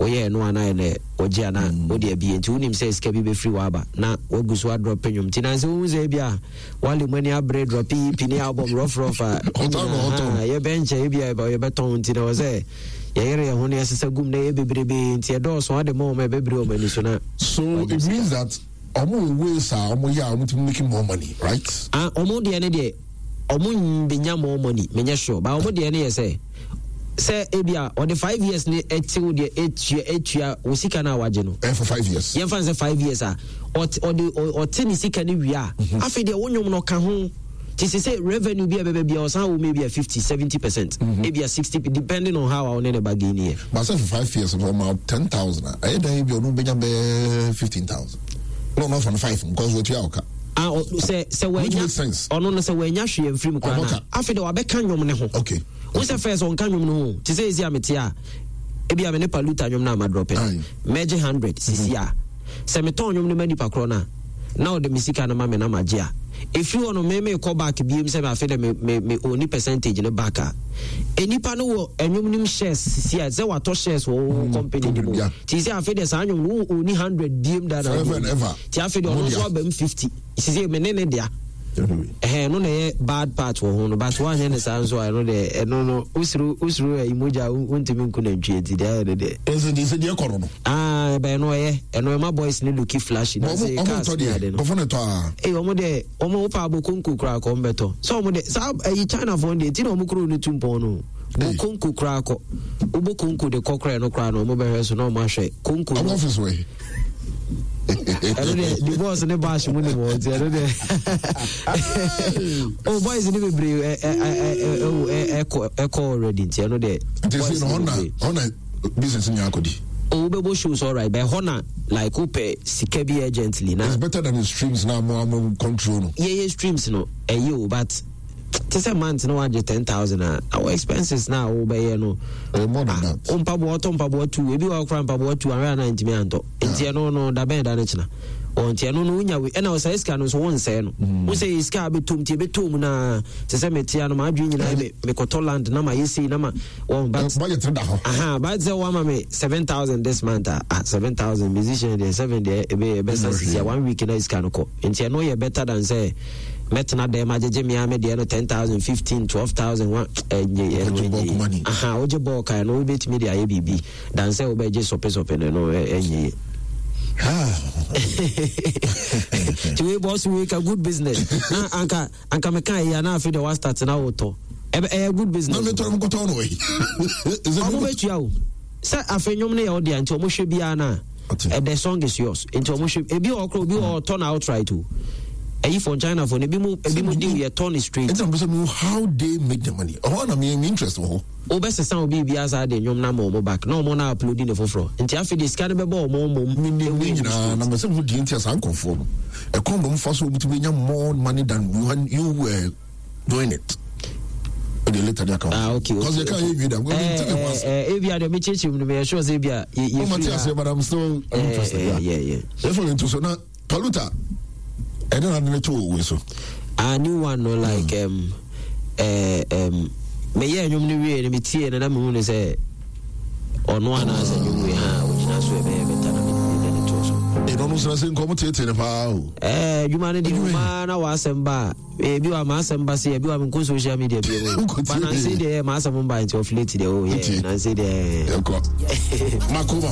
Woyɛ ɛno a na ayɛ dɛ wogye a na wode abie nti wonim sɛ sika bi bɛfiri hɔ aba na woagu so adrɔpe nnwom nti nansɛ wohu sɛ ebia Wale mu ani abere drɔpe EP ne album rɔfrɔf a nyinaa yɛbɛnkyɛ ebia yɛbɛtɔn nti na wɔ sɛ yɛyere yɛn ho na yɛsesa gum na ɛyɛ bebrebe nti ɛdɔɔso ade ma wɔn a ɛbɛbiri wɔn ani so na So it means that ɔmo wɔ ways a ɔmo yɛ a ɔmo tumi making more money, right? Ah, ɔmo deɛ ne deɛ ɔmo benya more money, menyɛ sure, but ɔmo deɛ ne yɛ sɛ sɛ ebi a ɔde 5 years ne ɛtew deɛ etua wo sika no a wagye no. Ɛyɛ for 5 years. Yɛn fa n sɛ 5 years a ɔte ɔde ɔte ne sika no wie a, afei deɛ wo nnwom no ɔka ho ti sɛ revenue bi a ɛbɛbɛ bi a ɔsan wɔ mu ebi a 50, 70%, ebi a 60, depending on how a ɔne ne bargain yɛ. But sɛ for 5 years no ɔma 10,000 a, ɛyɛ dan bi ɔno bɛnya bɛyɛ 15,000. No, not from five because wɔtua ɔka. Ah, sɛ wɔanya ɔno no sɛ wɔanya hwee mfiri mu koraa na afei de wabɛka nnwom ne ho. Wo sɛ first ɔnka nnwom no ho te sɛ ɛsi a mete a ebi a me ne Paluta nnwom no a madrɔpɛ mɛgye 100 sisi a sɛ metɔn nnwom no ma nipa korɔ no a na ɔde me sika no ma me na magye a ɛfiri hɔ no me mekɔ back biem sɛ afei dɛ me me me ɔni percentage no back a nnipa no wɔ nnwom no mu shares sisi a sɛ watɔ shares wɔ wo company no mu nti sɛ afei deɛ saa nnwom no wo ɔni 100 biem da na nti afei deɛ ɔno nso aba mu 50 sisi me ne ne dea. Ɛhɛn, ɛno na ɛyɛ bad part wɔ ho no, but woanyɛ ne saa nso a, ɛno deɛ, ɛno no, wosuro, wosuro ayi mogya a wontumi nku nantwie nti deɛ ayɛ no deɛ. Ɛsɛ deɛ sɛ deɛ kɔ no no. Ah, ɛbɛn no ɛyɛ, ɛno ɛma boys no looki flashy na sɛ cars ne ade no. Ɔmo tɔ deɛ, a. Ee, ɔmo deɛ, ɔmo wopɛ abɔ konko koraa kɔ, ɔmo bɛtɔ. Sɛ ɔmo deɛ, saa ɛyi China foɔ deɛ, ti na ɔmo kuro no tu mpɔn no. Bɔ konko koraa kɔ, wobɔ konko de kɔ koraa ɛno koraa no ɔmo bɛhwɛ so na ɔmo ahwɛ konko no. Ɔmo office wɔ he? Ɛno deɛ the boss ne bash mu ne wɔ nti ɛno deɛ, oh, boys ne bebree ɛkɔ ɛkɔ already nti ɛno deɛ. Nti sɛ no hɔ na hɔ na business nyɛ akɔdi. Oh, wobɛbɔ shows alright, but ɛhɔ na like wopɛ sika bi urgently na. It's better than the streams na mo amo control no. Yɛyɛ streams no ɛyɛ o, but te sɛ month na wagye 10,000 a, our expenses na wobɛyɛ no. Ɛyɛ more than that. Wo mpaboa, ɔtɔ mpaboa tu ebi wɔ akora mpaboa tu ahwɛ ana ntumi antɔ nti ɛno no da bɛn da no kyena wɔn nti ɛno no wonya wei ɛna ɔsɛ sika no nso wonsɛɛ no wo sɛ yɛ sika a bɛtɔm nti ɛbɛtɔm na te sɛ metea no maadwene nyinaa me mekɔtɔ land na ma yɛ sei na ma wɔn but budget no da hɔ. Aha, but sɛ woama me 7,000 this month a, ah, 7,000 musician deɛ 7 deɛ ebe ɛbɛsa sisi a one week na sika no kɔ nti ɛno yɛ better than sɛ mɛtena dɛm agyegye me a me deɛ no 10,000, 15, 12,000 wa ɛnyɛ ɛno Wogye bulk ɛnyɛ money. Aha, wogye bɔɔl ka ɛno wobɛtumi de ayɛ biribi dan sɛ wobɛgye sɔpesɔpe no, ɛno ɛnyɛ yie. Nti wei bɔs wei ka good business na anka anka meka ɛyɛ a na afei deɛ wastart na wotɔ ɛbɛ ɛyɛ good business. Na metɔ no mekɔtɔn no wɔ ɔmo bɛtua o sɛ afei nnwom no yɛ wo dea nti ɔmo hwɛ biara no a, the song is yours nti ɔmo hwɛ ebi wɔ hɔ koraa obi wɔ hɔ ɔtɔ no outright o ɛyi for China for no ebi mu ebi mu deal yɛ tɔ no straight. Ɛnti na mpɛ sɛ mehu how they make the money, ɛhɔ na me interest wɔ hɔ. Wobɛsesa obi biribiara saa de nnwom no ama ɔmo back na ɔmo na upload ne foforɔ nti afei deɛ sika no bɛbɔ ɔmo mmom. Menim ne nyinaa na mɛ sɛ mehu deɛ nti a saa nkurɔfoɔ no ɛkwan na ɔmo fa so ɔmo tumi nya more money than you were doing it. Okay, later they come. Ah, okay. Because they can't hear you. I'm going to tell you. Eh, eh, eh, me change him. Me sure say, ebia, ye, ye. Oh, Matthias, but I'm still interested. Yeah. Therefore, into so now, Paluta. I don't have to wait so. A new one, no, like me yeah, nnwom no wie no metie no na mehu no sɛ ɔno anaasɛ nnwom wei ha ɔgyina so ɛbɛyɛ bɛta na mede ne too so. Ɛno no sɛ sɛ nkɔm tietie no paa o. Adwuma no deɛ ɔmaa na w'asɛm ba a ebi wa m'asɛm ba se ebi wa menkɔ social media bi mu ba nanse deɛ m'asɛm mba nti ɔfileti deɛ o yɛ nanse deɛ. Yɛnkɔ. Makoma.